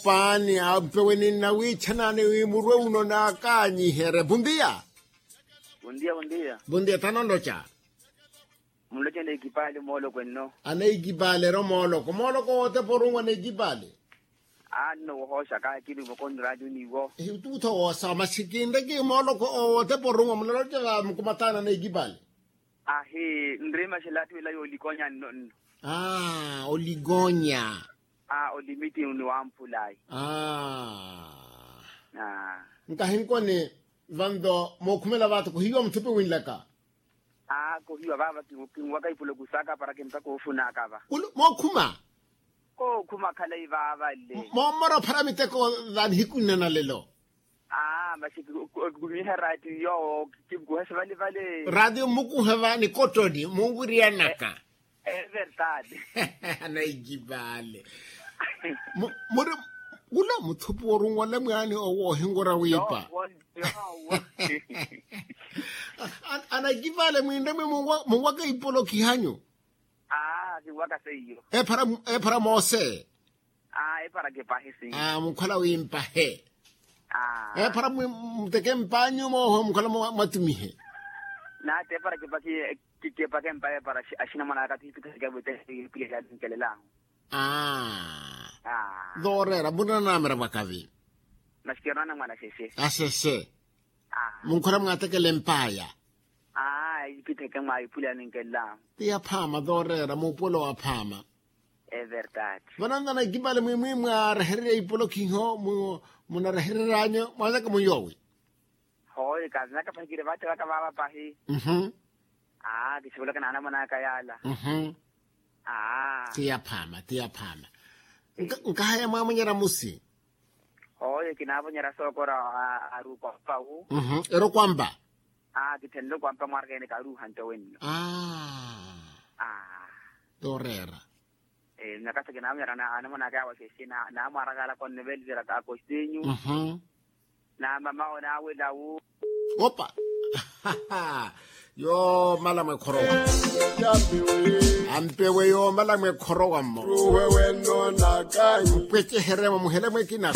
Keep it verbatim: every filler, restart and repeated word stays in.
Paani ampeweni nnawiichanaani wi murwe uno naakanyiherye buntiya. Buntiya buntiya. Buntiya thanonloca. Munloce neikipali mooloko enno. Aneikipali ero mooloko mooloko ootepa orunwa neikipali. Anno wohooxa kaakiri vokoni raati oniwo. Ehi utuutho woosawa masi kinreki mooloko ootepa orunwa munaloca va mukumataana neikipali. Ahi nrimaxela ati wila yoolikonya nno nno. Aa olikonya. Aa olimiti oniwamphulayi. Aa. Nkahinkoni vanto mookhumela vaatho kohiwa muthupi winlaka. Aa kohiwa vaava kinwaka ipulo kusaka para kimpaka ofunaka va. Mookhuma. Kookhuma khalayi vaavale. Moomora ophara miteko va nihiku nne na lelo. Aa masi kikumiha raatiyo. Kimukuhe sivalivali. Raatiyo mmukuhe va nikottoni munwiriyanaka. Evertade. Anaikipale. Muri wula muthupi worunwale mwaani owo ohinwira wiipa. Anaikipale mwinre mwi munwaka ipolokhihanyu. Aa kinwaka seiyo. Ephara moose. Aa ephara kipahe si. Aa munkhola wimpahe. Ephara muteke mpanyu mooho munkhola mwatumihe. Nati ephara kipahe. Kipake mpaye para axinamwanaka tihipikaheke vutehipikaheke alinkelelaho. Aa. Tooreera munanamera vakavi. Masi kiro nanamwana axexe. Axexe. Munkhora mwaatekela empaya. Aa ipitheke mwa iphuli aninkelelaho. Ti yaphaama tooreera muupuwelo wa phaama. Everdade. Vananvana ikipale mwimwi mwaarehererya ipolokhiho munarehereryanyu mwaanaka munyoowi. Hooyo kaazanaka pahi kiri vathi vaka vaava pahi. Aa kixivulaka naanamonaka yaala. Aa. Ti yaphaama ti yaphaama. Nkahaya mwaamonyera musi. Hooyo kinaavonyera sookora. Ari okwampa wu. Eri okwampa. Aa kithenle okwampa mwaaraka ene kaaruuha nto wenno. Aa. Tooreera. Nyakasa kinaamuyara anamonaka yawaxexe naamwaraka alaka onnevelivira akostinyu. Naamamawo naawelawu. Opa. Yoomala mwekhorowa. Ampewe yoomala mwekhorowa mmo. Mpwecheheremo muhelemo ekinako.